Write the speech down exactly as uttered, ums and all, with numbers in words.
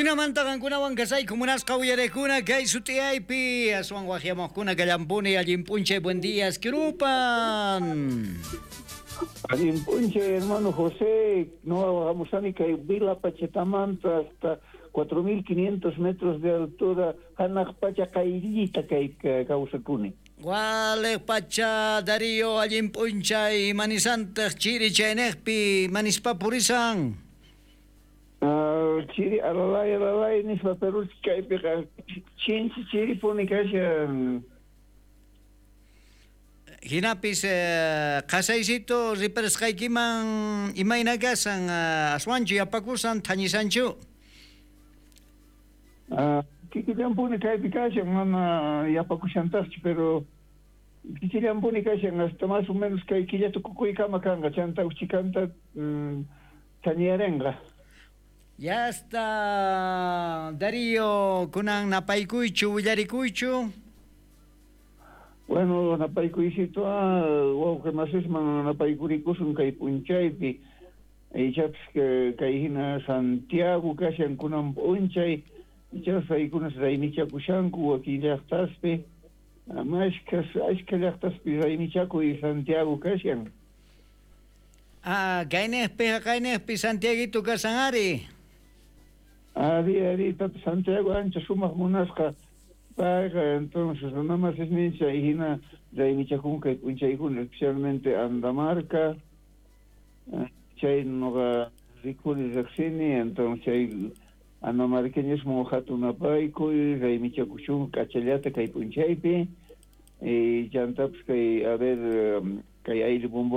Jinamanta qankunawan kasayku munasqa uyarekuna kay sut'iyaypi aswan waqyamuqkuna kallampuni allin p'unchay buen día Esquirupan. Allin p'unchay hermano José, no hamusani kay Vila Pachatamanta hasta cuatro mil quinientos metros de altura hanaq pacha qayllita kay kawsakuni. Waliq pacha Darío allin p'unchay manisantaq chiri chaynejpi manispa purisan. Uh, chiri alalay alalay nispa pero kaypiqa chinchi chiripuni kashan. Hinapis eh, qhasaysito riparasqaykiman imayna kasan uh, aswanchu yapakusan thañisanchu? Uh, kikillanpuni kaypi kashan mana yapakushantaqchu pero kikillanpuni kashan hasta más o menos kay killa tukukuykama kanqa chanta uchikanta mm, thañiyarenqa. Ya está Darío kunan napaykuychu willarikuychu. Bueno, napaykuysitu wawqi masisman napaykurikusun kay p'unchaypi ichapis kay hina Santiago kashan kunan p'unchay ichapas paykunas raymichakushanku wakin llaqtaspi mashkhas ashkha llaqtaspi raymichakuy Santiago kashan. Ah, kaynejpi haqaynejpi Santiaguito kasan ari. Ari, ari, tata Santiago ancha sumaq munasqa payqa entonces runamasisninchik chay hina raymichakun kay p'unchaykuna especialmente Andamarca chay nuqa rikuni riqsini entonces chay andamarqueñismo hatun napaykuy raymichakuchun k'achallata kay p'unchaypi y chantapis kay a ver kay ayllu bombo